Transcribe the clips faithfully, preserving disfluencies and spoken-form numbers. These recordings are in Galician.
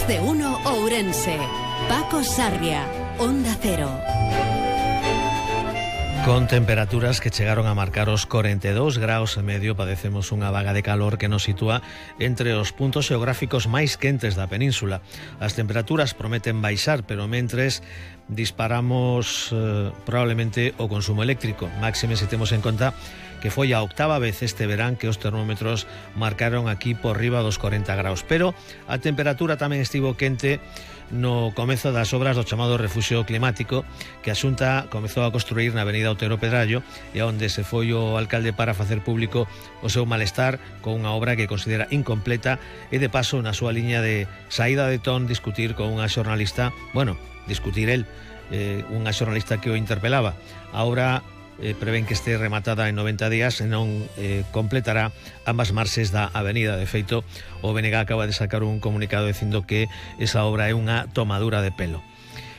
Más de uno Ourense. Paco Sarria, Onda Cero. Con temperaturas que chegaron a marcar os corenta e dous graus e medio, padecemos unha vaga de calor que nos sitúa entre os puntos xeográficos máis quentes da península. As temperaturas prometen baixar, pero mentres disparamos eh, probablemente o consumo eléctrico. Máxime se temos en conta que foi a octava vez este verán que os termómetros marcaron aquí por riba dos corenta graus. Pero a temperatura tamén estivo quente no comezo das obras do chamado refuxio climático que a Xunta comezou a construir na avenida Otero Pedrallo e onde se foi o alcalde para facer público o seu malestar con unha obra que considera incompleta e de paso na súa liña de saída de ton discutir con unha xornalista, bueno, discutir el, eh, unha xornalista que o interpelaba. A obra Eh, prevén que este rematada en noventa días e non eh, completará ambas marxes da avenida. De feito, o B N G acaba de sacar un comunicado dicindo que esa obra é unha tomadura de pelo.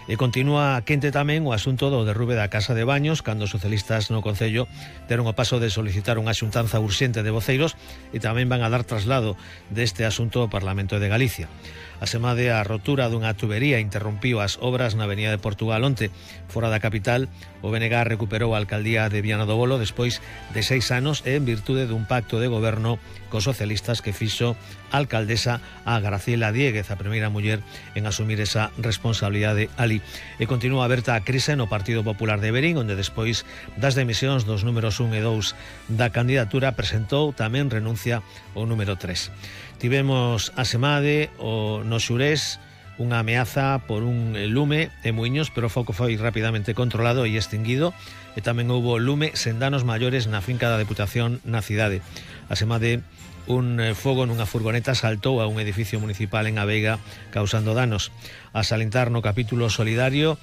E continúa quente tamén o asunto do derrube da Casa de Baños, cando os socialistas no Concello deron o paso de solicitar unha xuntanza urxente de voceiros e tamén van a dar traslado deste asunto ao Parlamento de Galicia. Asemade, a rotura dunha tubería interrompiu as obras na Avenida de Portugal onte. Fora da capital, o B N G recuperou a alcaldía de Viana do Bolo despois de seis anos e en virtude dun pacto de goberno cos socialistas que fixo a alcaldesa a Graciela Diéguez, a primeira muller en asumir esa responsabilidade ali. E continúa aberta a crise no Partido Popular de Verín, onde despois das demisións dos números un e dous da candidatura presentou tamén renuncia o número tres. Tivemos a semade o no Xurés unha ameaza por un lume en Muiños, pero o foco foi rapidamente controlado e extinguido, e tamén houbo lume sen danos maiores na finca da Deputación na cidade. A semade, un fogo nunha furgoneta saltou a un edificio municipal en A Veiga causando danos. A salientar no capítulo solidario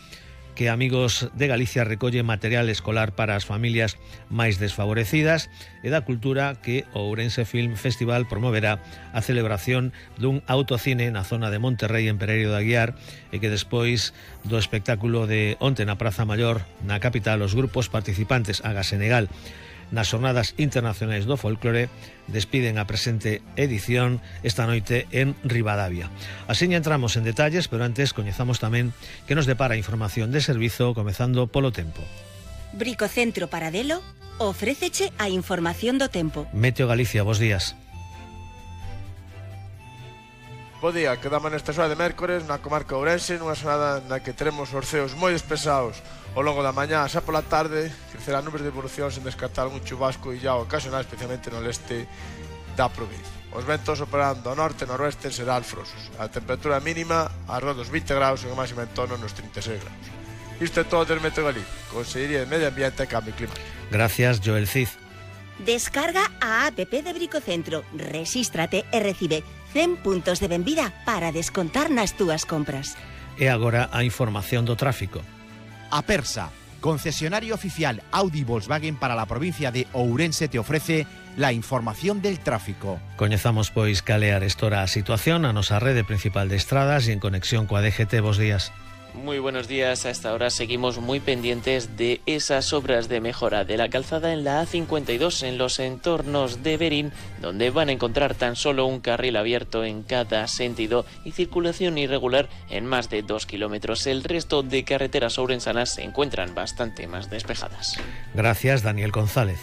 que Amigos de Galicia recolle material escolar para as familias máis desfavorecidas, e da cultura que o Ourense Film Festival promoverá a celebración dun autocine na zona de Monterrei en Pereiro de Aguiar, e que despois do espectáculo de onte na Praza Maior na capital, os grupos participantes Aga Senegal nas Xornadas Internacionais do Folclore despiden a presente edición esta noite en Ribadavia. Así entramos en detalles, pero antes coñezamos tamén que nos depara información de servizo, comezando polo tempo. Bricocentro Paradelo ofréceche a información do tempo. Meteo Galicia, bos días. Bo día, quedamos nesta xoa de mércores na comarca Ourense, nunha xornada na que teremos os ceos moi despesados ao longo da mañá. Xa pola tarde crecerán nubes de evolución sen descartar un chubasco e ya ocasional, especialmente no leste da provincia. Os ventos operando ao norte e noroeste serán alfrosos. A temperatura mínima arredor dos vinte graus e a máxima en torno nos trinta e seis graus. Isto é todo del Meteo Galicia, Consellería de Medio Ambiente e Cambio Climático. Gracias, Joel Cid. Descarga a app de Bricocentro, resístrate e recibe cen puntos de benvida para descontar nas túas compras. E agora a información do tráfico. Apersa, concesionario oficial Audi Volkswagen para la provincia de Ourense, te ofrece la información del tráfico. Coñezamos pois cal é a restora a situación a nosa rede principal de estradas e en conexión coa D G T. Bos días. Muy buenos días. Hasta ahora seguimos muy pendientes de esas obras de mejora de la calzada en la A cincuenta y dos en los entornos de Verín, donde van a encontrar tan solo un carril abierto en cada sentido y circulación irregular en más de dos kilómetros. El resto de carreteras ourensanas se encuentran bastante más despejadas. Gracias, Daniel González.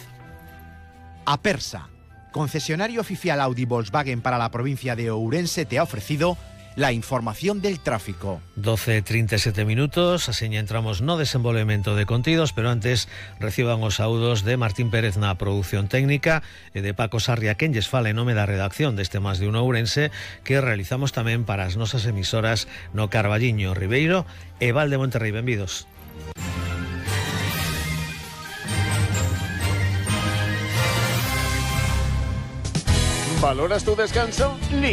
Apersa, concesionario oficial Audi Volkswagen para la provincia de Ourense, te ha ofrecido la información del tráfico. doce e trinta e sete minutos, así entramos no desenvolvemento de contidos, pero antes reciban os saúdos de Martín Pérez na produción técnica e de Paco Sarria, quen lles fala en nome da redacción deste Más de un Ourense, que realizamos tamén para as nosas emisoras no Carballiño, Ribeiro e Val de Monterrei. Benvidos. ¿Valoras tu descanso?